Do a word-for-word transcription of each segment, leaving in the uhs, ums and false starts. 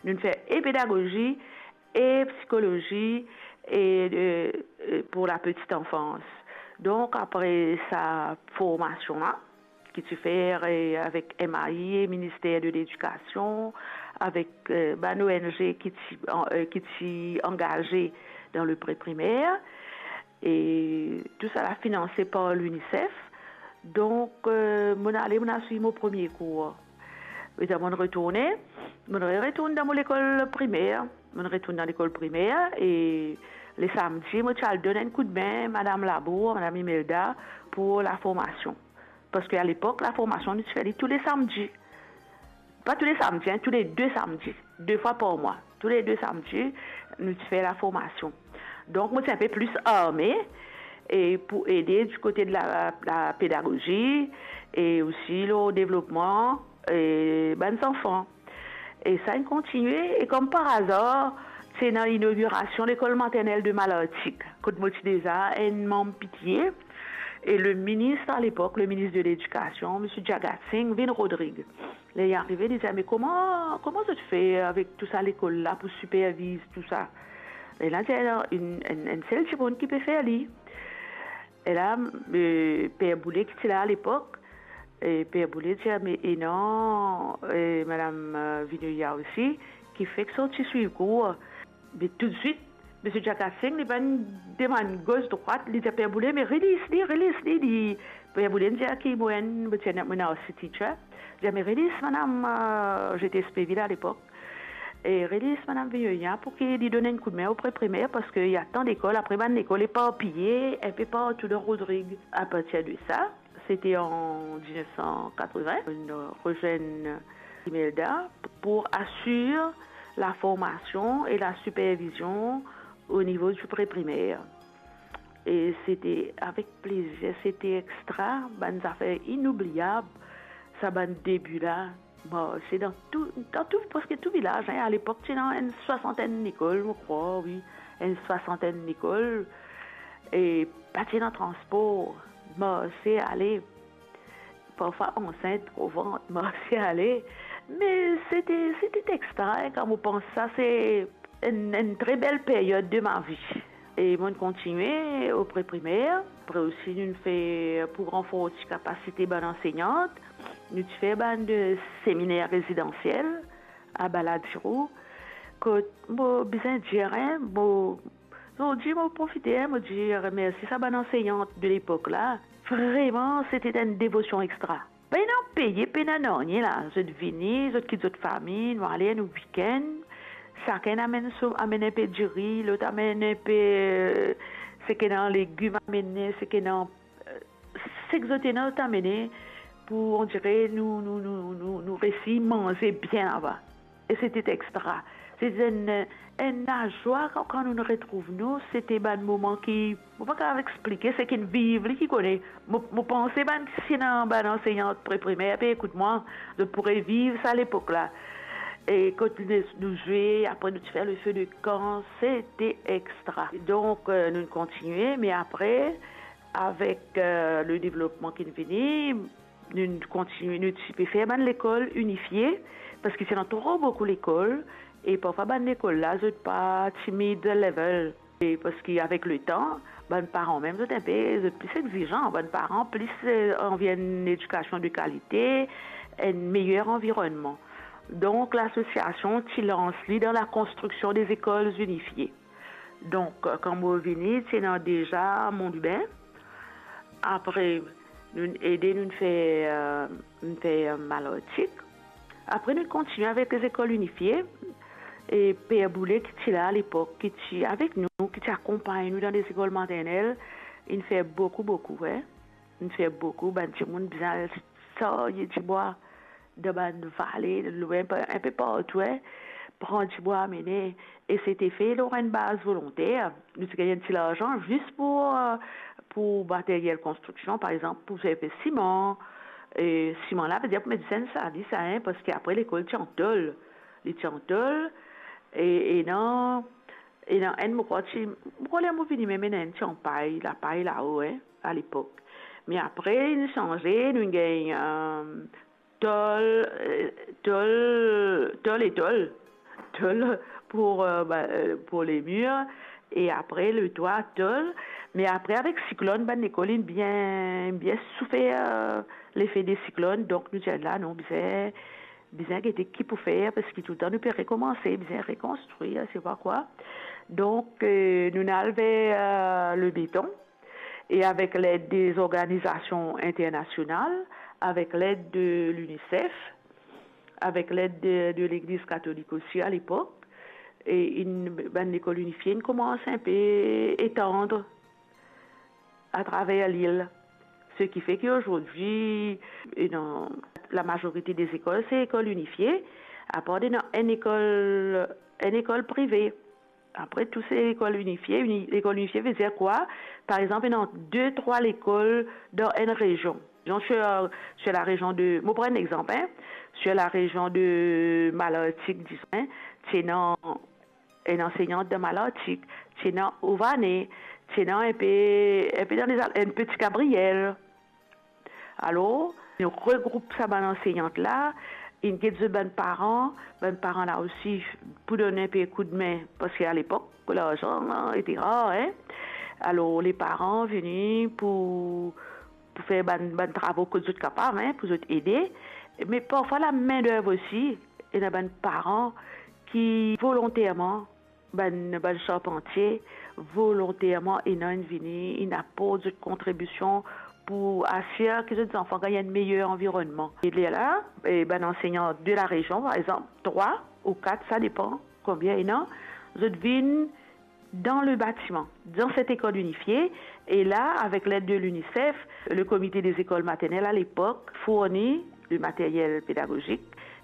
Nou'nn fer e pedagozi, e psikolozi, e, e, e pou la petite enfance. Donk, apre sa formasion la, ki ti fer, e, avek M A I e Minister de Ledikasion, avek, e, bann O N G ki ti, an-, e, ki ti angaze dan le pre-primer. E tou sa la finanse par l'UNICEF. Donk, e, mo'nn ale, mo'nn al swiv mo premie kour. Apre sa, mo'nn retourne, mo'nn re-, retourn dan mo lekol primer. Mo'nn retourn dan lekol primer e le samdi, mo ti al donn enn koudme Madam Labour, Madam Imelda, pou laformasion. Parski alepok, laformasion, nou ti fer li tou le samdi. Pa tou le samdi, en, tou le de samdi, de fwa par mwa. Tou le de samdi, nou ti fer laformasion. Donk, mo ti enpe plis arme e pou ede di kote de la, la pedagozi e osi lor devlopman, e, bann zanfan. E sa inn kontinie, e kom par azar, ti ena inogirasion lekol maternel de Malartic, kot mo ti deza enn manm P T A, e le minis alepok, le minis de Ledikasion, Misie Jagat Singh, vinn Rodrig. Ler li arive, li dir, "Me kouma, kouma zot fer avek tou sa lekol la pou siperviz tou sa?" E la, dir, "Enn, enn, enn sel dimoun ki pe fer li." E la, e, Per Boule ki ti la alepok, e Per Boule dir, "Me ena, e, Madam, e, Vinoya osi, ki fek sorti swiv kour." Me toutswit, Misie Jagat Singh, li pa'nn demann gos drwat, li dir Per Boule, "Me release li, release li, li." Per Boule dir ki mo enn, mo ti enn, mo enn art teacher. Dir, "Me release Madam, e, G T S P Ville alepok. E release Madam Vinoya pou ki li donn enn koudme o pre-primer, parski ena tan lekol, apre bann lekol eparpiye enpe partou dan Rodrig." Apartir de sa, sete an diznef san katreven, nou rezwenn Imelda pou asir laformasion e lasipervizion o nivo di pre-primer. E sete avek plezir, sete extra, bann zafer inoubliab, sa bann debi la. Bon, se dan tou, dan tou, preske tou vilaz, en. Alepok, ti ena enn swasantenn lekol, mo krwar, wi, enn swasantenn lekol, e pa ti ena transpor, marse ale, parfwa ansint, gro vant, marse ale. Me sete, sete extra, en, kan mo pans sa, se enn, enn tre bel peryod de ma vi. E mo'nn kontinie o pre-primer, apre osi nou'nn fer, pou ranforsi kapasite bann ansegnant, nou ti fer bann, e, seminer rezidansiel a Baladiro, kot mo bizin dir, en, mo, zordi mo profite, en, mo dir mersi sa bann ansegnant de lepok la. Vreman, sete enn devosion extra. Pena peye, pena nanye la. Zot vini, zot kit zot fami, nou ale, nou weekend. Sakenn amenn so, amenn enpe diri, lot amenn enpe, e, seki ena legim, amenn, seki ena, e, seki zot ena, zot amene pou, on dirait, nou, nou, nou, nou, nou resi manze bien laba. E sete extra. Sete enn, enn lazwa kan, kan nou retrouv nou, sete bann moman ki, mo pa kapav explike, seki inn viv li ki kone. Mo, mo panse bann ki ti ena bann ansegnant pre-primer pe ekout mwa, zot pou reviv sa lepok la. E kot nou, nou zwe, apre nou ti fer le feu de camp, sete extra. Donk, e, nou kontinie, me apre, avek, e, le devlopman ki'nn vini, nou kontinie, nou ti pe fer bann lekol inifie, parski ti ena tro boukou lekol, e parfwa bann lekol la, zot pa ti mid level. E parski avek letan, bann paran mem, zot enpe, zot plis egzizan, bann paran plis, e, anvi enn ledikasion de kalite, enn meyer anvironnman. Donk, lasosiasion ti lans li dan lakonstriksion de lekol inifie. Donk, kan mo vini, ti ena deza Mont Lubin. Apre, nou ede, nou fer, e, nou fer Malartic. Apre, nou kontinie avek lezekol inifie. E Per Boule, ki ti la alepok, ki ti avek nou, ki ti akonpagn nou dan lezekol maternel, inn fer boukou, boukou, wi. Inn fer boukou, bann dimoun bizin al sarye dibwa dan bann vale, lwin, pa-, enpe partou, wi, pran dibwa, amene, e sete fe lor enn baz volonter. Nou ti gagn enn ti larzan zis pou, e, pou materyel konstriksion, par exanp, pou fer, fer siman. E siman la, vedir pou met disenn sa, li sa, en, parski apre lekol ti an tol. Li ti an tol, e, ena, ena enn, mo krwar ti, mo krwar ler mo vini mem ena enn ti an pay, lapay lao, en, alepok. Me apre, inn sanze, nou gagn, e, tol, e, tol, tol e tol. tol pou, euh, ba, euh, pou lemir, e apre letwa tol. Me apre, avek siklonn, bann lekol inn bien, bien soufer, euh, lefe de siklonn. Donk nou dir la, non, bizin, bizin gete ki pou fer, parski toultan nou pe rekomanse, bizin rekonstrir, se pa kwa. Donk, euh, nou al ver, euh, le beton, e avek led de zorganizasion internasional, avek led de l'UNICEF, avek led de, de Legliz Katolik osi alepok, e inn, bann lekol inifie inn koumans inpe etann atraver lil. Seki fe ki azordi, e dan lamazorite de lekol, se lekol inifie, apar ena enn lekol, enn lekol prive. Apre, tou se lekol inifie. Uni-, lekol inifie ve dir kwa? Par exanp, ena de, trwa lekol dan enn rezion. Dizon, sir, sir larezion de, mo pran enn exanp, hein, sir larezion de Malartik, dizon, hein, ti ena enn ansegnant dan Malartik, ti ena Ovanen, ti ena inpe, inpe dan lezal, inpe Ti Gabriel. Alor, nou regroup sa bann ansegnant la, inn get zot bann paran, bann paran la osi pou donn inpe koudme, parski alepok, larzan, hein, ete rar, hein. Alor, le paran vini pou, pou fer bann, bann travo kot zot kapav, hein, pou zot ede. Me parfwa lamendev osi, ena bann paran ki volonterman, bann, bann sarpantie, volonterman, ena, inn vini, inn aport zot kontribision pou asir ki zot zanfan gagn enn meyer anvironnman. E lerla, e bann ansegnan de larezion, par exanp, trwa ou kat, sa depan konbien ena, zot vinn dan le batiman, dan set lekol inifie, e la, avek led de l'UNICEF, le Comité des écoles maternelles alepok fourni le materyel pedagozik,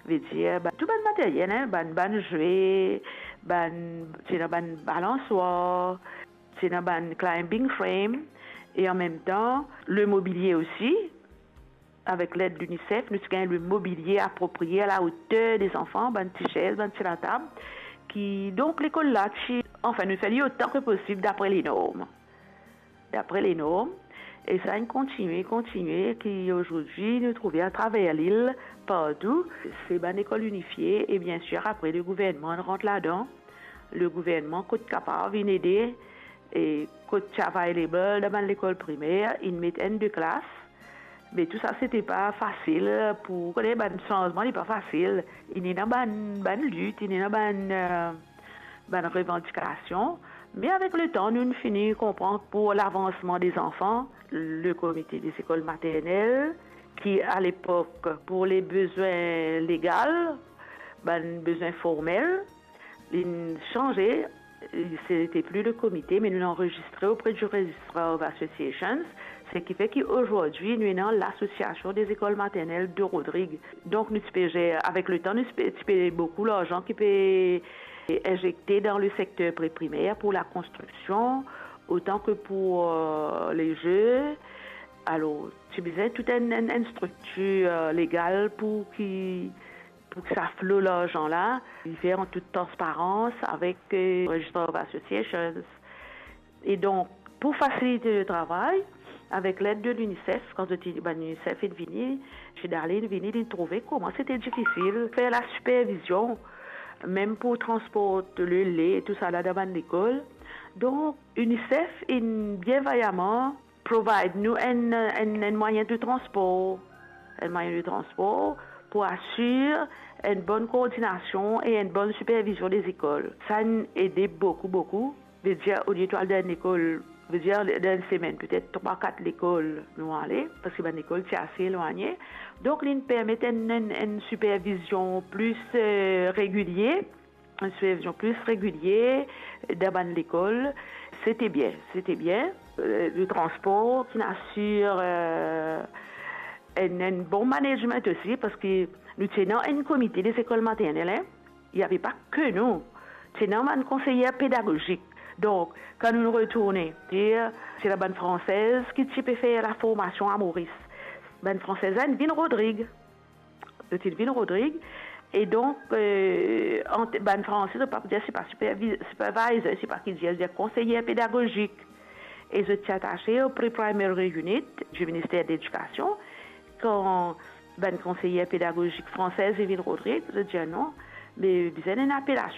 ve dir, ba, tou bann materyel, hein, bann, bann zwe, bann, ti ena bann balanswar, ti ena bann climbing frame, e an mem tan, le mobilie osi, avek led l'UNICEF, nou ti gagn le mobilie aproprie a la oter de zanfan, bann ti sez, bann ti latab, ki, donk, lekol la ti, anfin, nou fer li otan ki posib dapre le norm. Dapre le norm, e sa inn kontinie, kontinie, ki azordi nou trouve atraver lil, partou, se bann lekol inifie, e biensir, apre, le gouvernman rant ladan. Le gouvernman, kot kapav, inn ede, e kot ti available dan bann lekol primer, inn met enn de klas. Me tou sa, sete pa fasil pou, kone, bann sanzman, li pa fasil. Inn ena bann, bann lit, inn ena bann, euh, bann revandikasion. Me avek letan, nou, nou fini konpran pou lavansman de zanfan, le Comité des écoles maternelles, ki alepok, pou le bezwin legal, bann bezwin formel, li sanze, sete pli le komite, me nou anrezistre auprès du Registrar of Associations, seki fer ki azordi nou ena l'Association des écoles maternelles de Rodrigues. Donk, nou ti pe zer, avek letan, nou ti pe, ti pe boukou larzan ki pe inzekte dan le sekter preprimer pou lakonstriksion, otan ki pou, euh, le zwe. Alor, ti bizin tou enn, enn, enn striktir, euh, legal pou ki, pou ki sa flo larzan la, li fer an tout transparans avek, euh, Registrar of Associations. E donk, pou fasilite le travay, avek led de l'UNICEF, kan zot, bann UNICEF inn vini, Jude Allais inn vini, li trouve kouma sete difisil fer lasipervizion, mem pou transport le le, tou sa la dan bann lekol. Donk, UNICEF inn bien vayaman provide nou enn, enn, enn mwayin de transpor, enn mwayin de transpor pou asir enn bonn koordinasion e enn bonn sipervizion de lekol. Sa inn ede boukou, boukou. Ve dir, olie to al dan enn lekol, ve dir, dan enn semenn, petet trwa, kat lekol nou ale, parski bann lekol ti ase elwagne. Donk, li permet enn, enn, enn sipervizion pli, euh, regilie, enn sipervizion pli regilie dan bann lekol. Sete bien, sete bien. Euh, le transpor, ki inn asir, euh, enn, enn bon management osi, parski nou ti ena enn komite de lekol maternel, hein. Il y avait pas que nou. Ti ena bann konseyer pedagozik. Donk, kan nou retourne, dir, se la bann Fransez ki ti pe fer laformasion a Moris. Bann Fransez la, inn vinn Rodrig. Zot inn vinn Rodrig. E donk, euh, ant bann Franse, zot pa pou dir, se pa sipervi-, supervisor, se pa ki dir, dir konseyer pedagozik. E zot ti atase o Pre-Primary Unit du Ministère de l'Éducation. Kan bann konseyer pedagozik Fransez inn vinn Rodrig, zot dir non, me bizin enn apelasion